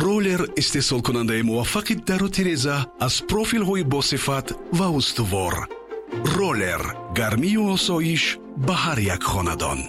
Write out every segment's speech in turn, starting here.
Роллер, истеҳсолкунандаи муваффақи дару тиреза аз профилҳои босифат ва устувор. Роллер, гармию осоиш ба ҳар як хонадон.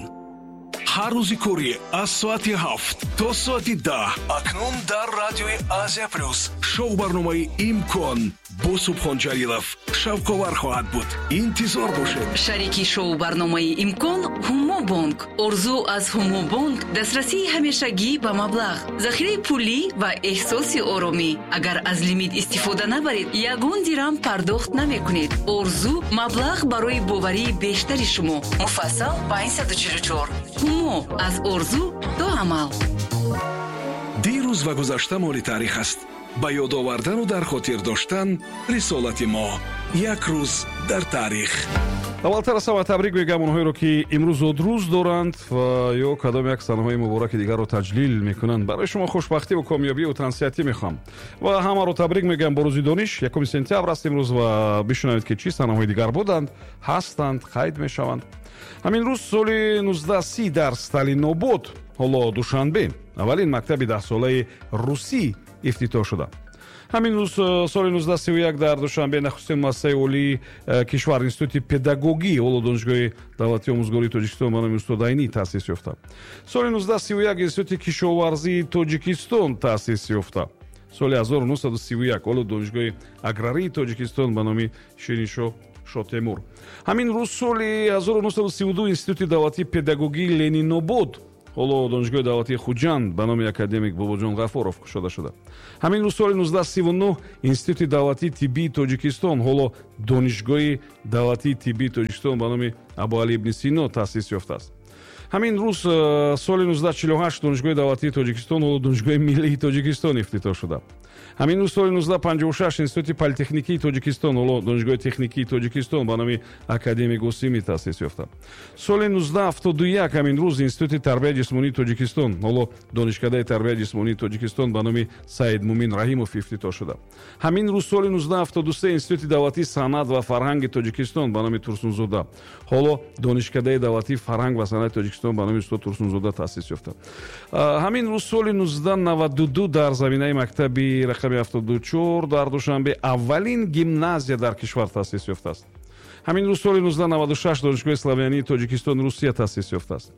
Ҳар рӯзи корӣ аз соати 7 то соати 10 акнун дар радиои Азия Плюс шоу барномаи «Имкон» бо Субҳон Ҷалилов шавқовар хоҳад буд. Интизор бошед. Шарики шоу барномаи «Имкон» Ҳумобонк. Орзу аз Ҳумобонк: дастрасии ҳамешагӣ ба маблағ, захираи пулӣ ва эҳсоси оромӣ. Агар аз лимит истифода набаред, ягон дирам пардохт намекунед. Орзу: маблағ барои боварии бештари шумо. Муфассал 544. Ҳумо: аз орзу то амал. Дирӯз ва гузашта моли таърих аст. Ба ёд овардану дар хотир доштан рисолати мо. Як рӯз дар таърих. Аввалтар аз ҳама табрик мегӯям онҳоеро, ки имрӯз зодрӯз доранд ва ё кадом як санаҳои мубораки дигарро таҷлил мекунанд. Барои шумо хушбахтиву комёбиву тансиҳатӣ мехоҳам ва ҳамаро табрик мегӯям бо рӯзи дониш. 1 сентябр аст имрӯз ва бишунавед, ки чӣ санаҳои дигар буданд, ҳастанд, қайд мешаванд. Ҳамин рӯз соли 1930 дар Сталинобод, ҳоло Душанбе, аввалин мактаби 10-солаи русӣ ифтитоҳ шуда. Ҳамин рӯз соли 1931 дар Душанбе нахустин муассисаи олии кишвар, Институти педагогӣ, ҳоло Донишгоҳи давлатии омӯзгории Тоҷикистон ба номи устод Айнӣ, таъсис ёфта. Соли 1931 Институти кишоварзии Тоҷикистон таъсис ёфта. Соли 1931 ҳоло Донишгоҳи аграрии Тоҷикистон ба номи Шириншоҳ Шотемур. Ҳамин рӯз соли 1932 Институти давлатии педагогии Ленинобод, ҳоло Донишгоҳи давлатии Хуҷанд, ба номи академик Бобоҷон Ғафуров кушода шуда. Ҳамин рӯз соли 1939 Институти давлатии тиббии Тоҷикистон, ҳоло Донишгоҳи давлатии тиббии Тоҷикистон ба номи Абуалӣ ибни Сино, таъсис ёфтааст. Ҳамин рӯз соли 1948 Донишгоҳи давлатии Тоҷикистон, ҳоло Донишгоҳи миллии Тоҷикистон, ифтитоҳ шуда. Ҳамин рӯз соли 1956 Институти политехникии Тоҷикистон, ҳоло Донишгоҳи техникии Тоҷикистон, ба номи академик Осимӣ таъсис ёфта. Соли 1971 ҳамин рӯз Институти тарбияи ҷисмонии Тоҷикистон, ҳоло Донишкадаи тарбияи ҷисмонии Тоҷикистон, ба номи Саидмумин Раҳимов ифтитоҳ шуда. Ҳамин рӯз соли 1973 Институти давлатии санъат ва фарҳанги Тоҷикистон ба номи Турсунзода, ҳоло Донишкадаи давлатии фарҳанг ва санъати Тоҷикистон ба номи устод Турсунзода, таъсис ёфта. Ҳамин рӯз соли 1992 дар заминаи мактаби рақами 74 дар Душанбе аввалин гимназия дар кишвар таъсис ёфтааст. Ҳамин рӯз соли 1996 Донишгоҳи славянии Тоҷикистон Русия таъсис ёфтааст.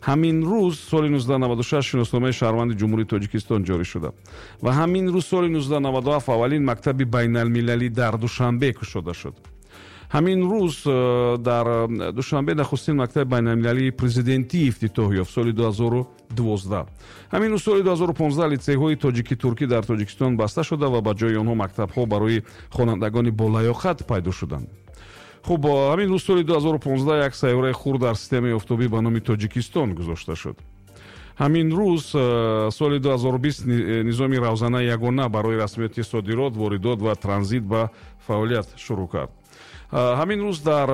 Ҳамин рӯз соли 1996 шиносномаи шаҳрванди Ҷумҳурии Тоҷикистон ҷорӣ шуда ва ҳамин рӯз соли 1997 аввалин мактаби байналмилалӣ дар Душанбе кушода шуд. Ҳамин рӯз дар Душанбе нахустин мактаби байналмилалии президентӣ ифтитоҳ ёфт, соли 2012. Ҳамин рӯз соли 2015 литсейҳои тоҷики-туркӣ дар Тоҷикистон баста шуда ва ба ҷои онҳо мактабҳо барои хонандагони болаёқат пайдо шуданд. Хуб, ҳамин рӯз соли 2015 як сайёраи хурд дар системаи офтобӣ ба номи Тоҷикистон гузошта шуд. Ҳамин рӯз соли 2020 низоми равзанаи ягона барои расмиёти содирот, воридот ва транзит ба фаъолият шурӯъ кард. Ҳамин рӯз дар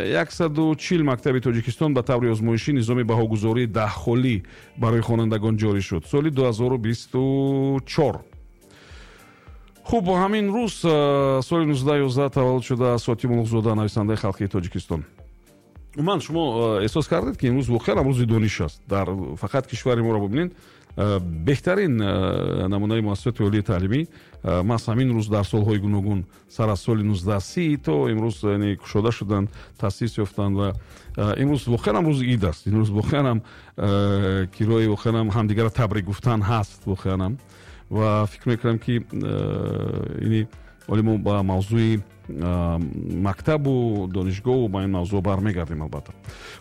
140 мактаби Тоҷикистон ба таври озмоишӣ низоми баҳогузории 10-холӣ барои хонандагон ҷорӣ шуд, соли 2024. Хуб, ҳамин рӯз соли 1911 таваллуд шуда Сотим Улуғзода, нависандаи халқии Тоҷикистон. Умуман, шумо эҳсос кардед, ки имрӯз воқеан рӯзи дониш аст. Дар фақат кишвари моро бибинед, беҳтарин намунаи муассисоти олии таълимӣ маҳз ҳамин рӯз дар солҳои гуногун сар аз соли 1930 то имрӯз, яъне, кушода шуданд, таъсис ёфтанд. Ва имрӯз воқеан ҳам рӯзи ид аст. Имрӯз воқеан ҳам кирои, воқеан ҳам ҳамдигарро табрик гуфтан ҳаст воқеан ҳам. Ва фикр мекунам, ки ини ҳоле мо ба мавзӯи мактабу донишгоҳу ба ин мавзӯъ бармегардем, албатта.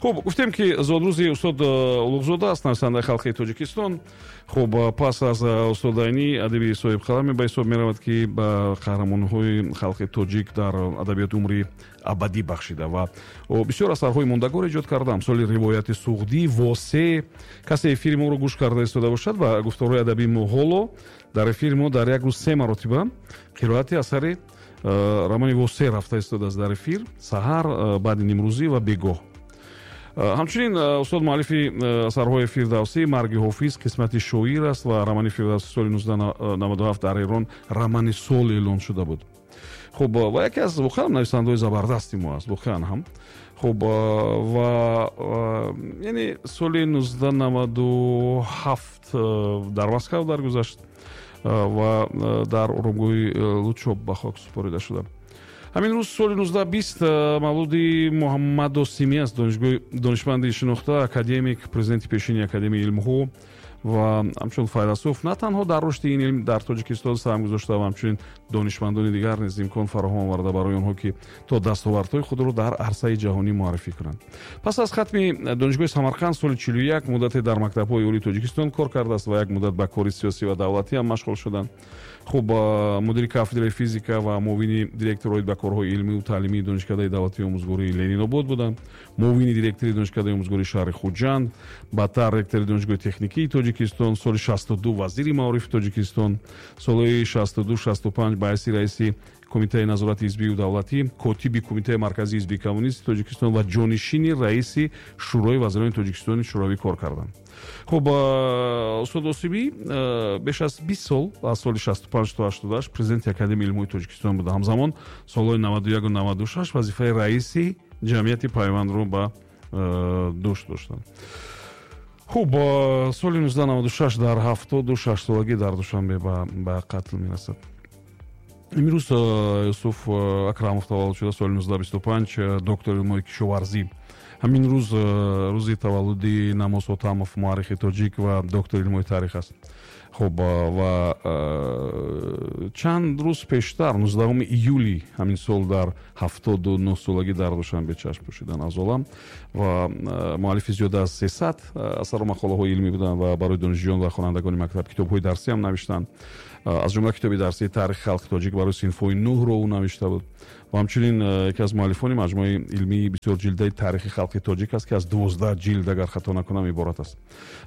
Хуб, гуфтем, ки зодрӯзи устод Улуғзода аст, нависандаи халқи Тоҷикистон. Хуб, пас аз устод Айнӣ адиби соҳибқаламе ба ҳисоб меравад, ки ба қаҳрамонҳои халқи тоҷик дар адабиёти умри абадӣ бахшида ва бисёр асарҳои мондагор эҷод карда, амсоли Ривояти суғдӣ, Восе. Касе эфири моро гӯш карда истода бошад ва гуфторҳои адабии мо, ҳоло дар эфири мо дар як рӯз се маротиба қироати асари романи Восе рафта истодааст дар эфир: саҳар, баъди нимрӯзӣ ва бегоҳ. Ҳамчунин устод муаллифи асарҳои Фирдавсӣ, Марги Ҳофиз, Қисмати шоир аст ва романи Фирдавсӣ соли 1997 дар Эрон романи сол эълон шуда буд. Хуб, ва яке аз воқеан нависандаҳои забардасти мо аст, воқеан ҳам. Хуб, ва яъне соли 1997 дар Москав даргузашт ва дар оромгоҳи Лучоб ба хок супорида шуда. Ҳамин рӯз соли 1920 мавлуди Муҳаммад Осимӣ аст, донишманди шинохта, академик, президенти пешини Академияи илмҳо ва ҳамчун файласуф на танҳо дар рушди ин илм дар Тоҷикистон саҳм гузошта ва ҳамчунин донишмандони дигар низ имкон фароҳам оварда барои онҳо, ки то дастовардҳои худро дар арсаи ҷаҳонӣ муаррифӣ кунанд. Пас аз хатми Донишгоҳи Самарқанд соли 41 муддате дар мактабҳои олии Тоҷикистон кор кардааст ва як муддат ба кори сиёсӣ ва давлатӣ ҳам машғул шуданд. Хуб, мудири кафедраи физика ва муовини директор оид ба корҳои илмию таълимии Донишкадаи давлатии омӯзгории Ленинобод буданд, муовини директори Донишкадаи омӯзгории шаҳри Хуҷанд, баъдтар ректори Донишгоҳи техникии Тоҷикистон, соли 62 вазири маорифи Тоҷикистон, солҳои 62-65 ба ҳайси раиси Кумитаи назорати ҳизбию давлатӣ, котиби Кумитаи марказии ҳизби коммунисти Тоҷикистон ва ҷонишини раиси Шӯрои вазирони Тоҷикистони Шӯравӣ кор карданд. Хуб, устод Осимӣ беш аз 20 сол, аз соли 65 то 88, президенти Академияи илмҳои Тоҷикистон буда. Ҳамзамон солҳои 91 96 вазифаи раиси ҷамъияти Пайвандро ба дӯш доштанд. Хуб, соли 1996 дар 76 солагӣ дар Душанбе ба қатл мерасад. Имрӯз Юсуф Акрамов таваллуд шуда соли 1925, доктори илмҳои кишоварзӣ. Ҳамин рӯз рӯзи таваллуди Намоз Ҳотамов, муаррихи тоҷик ва доктори илмҳои таърих аст. Хуб, ва чанд рӯз пештар, 19 июли ҳамин сол, дар 79 солагӣ дар Душанбе чашм пӯшидан аз олам ва муаллифи зиёда аз 300 асару мақолаҳои илмӣ буданд ва барои донишҷӯён ва хонандагони мактаб китобҳои дарсӣ ҳам навиштанд. Аз ҷумла китоби дарсии таърихи халқи тоҷик барои синфҳои нӯҳро ӯ навишта буд ва ҳамчунин яке аз муаллифони маҷмӯаи илмии бисёрҷилдаи таърихи халқи тоҷик аст, ки аз 12 ҷилд, агар хато накунам, иборат аст.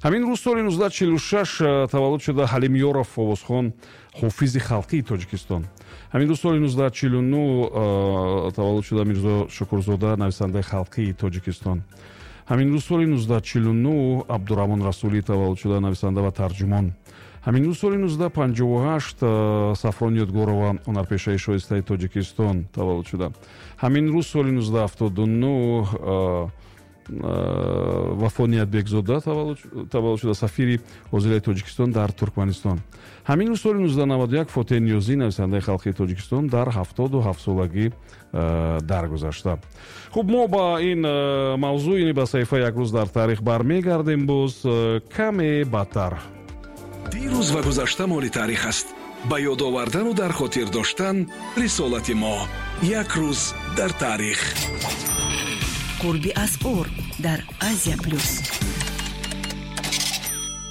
Ҳамин рӯз соли 1946 таваллуд шуда Ҳалим Ёров, овозхон, ҳофизи халқии Тоҷикистон. Ҳамин рӯз соли 1949 таваллуд шуда Мирзо Шукурзода, нависандаи халқии Тоҷикистон. Ҳамин рӯз соли 1949 Абдураҳмон Расулӣ таваллуд шуда, нависанда ва тарҷумон. Ҳамин рӯз соли 1958 Сафрон Ёдгорова, ҳунарпешаи шоистаи Тоҷикистон, таваллуд шуда. Ҳамин рӯз соли 1979 Вафо Ниятбекзода таваллуд шуда, сафири ҳозираи Тоҷикистон дар Туркманистон. Ҳамин рӯз соли 1991 Фотеҳ Ниёзӣ, нависандаи халқии Тоҷикистон, дар 77 солагӣ даргузашта. Хуб, мо ба ин мавзӯъ, яъне ба саҳифаи як рӯз дар таърих, бармегардем боз каме баъдтар. Дирӯз ва гузашта моли таърих аст. Ба ёд овардану дар хотир доштан рисолати мо. Як рӯз дар таърих. Қурби асъор дар Азия Плюс.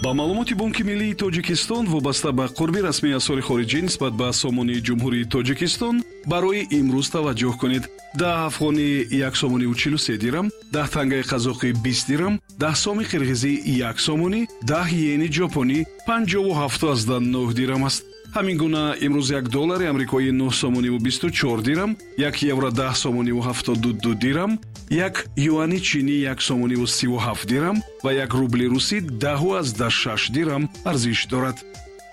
Ба маълумоти Бонки миллии Тоҷикистон, вобаста ба қурби расмии асъори хориҷӣ нисбат ба сомонии Ҷумҳурии Тоҷикистон барои имрӯз таваҷҷӯҳ кунед: 10 афғонӣ 1 сомониву 43 дирам, 10 тангаи қазоқӣ 20 дирам, 10 соми қирғизӣ 1 сомонӣ, 10 иени ҷопонӣ 57,9 дирам аст. Ҳамин гуна имрӯз 1 доллари амрикоӣ 9 сомониву 24 дирам, 1 евро 10 сомониву 72 дирам, 1 юани чинӣ 1 сомониву 37 дирам ва 1 рубли русӣ 10,6 дирам арзиш дорад.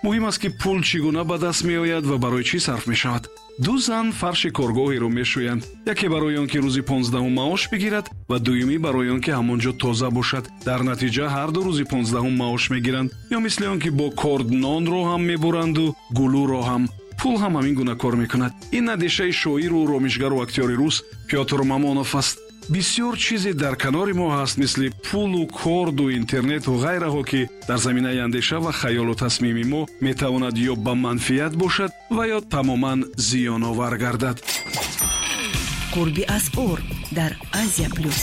Муҳим аст, ки пул чӣ гуна ба даст меояд ва барои чӣ сарф мешавад. Ду зан фарши коргоҳеро мешӯянд: яке барои он ки рӯзи 15-ум маош бигирад ва дуюмӣ барои он ки ҳамон ҷо тоза бошад. Дар натиҷа ҳар ду рӯзи 15-ум маош мегиранд. Ё мисли он ки бо корд нонро ҳам мебуранду гулӯро ҳам. Пул ҳам ҳамин гуна кор мекунад. Ин андешаи шоиру ромишгару актёри рус Пётр Мамонов аст. Бисёр чизе дар канори мо ҳаст, мисли пулу корду интернету ғайраҳо, ки дар заминаи андеша ва хаёлу тасмими мо метавонад ё ба манфиат бошад ва ё тамоман зиёновар гардад. Қурби асъор дар Азия Плюс.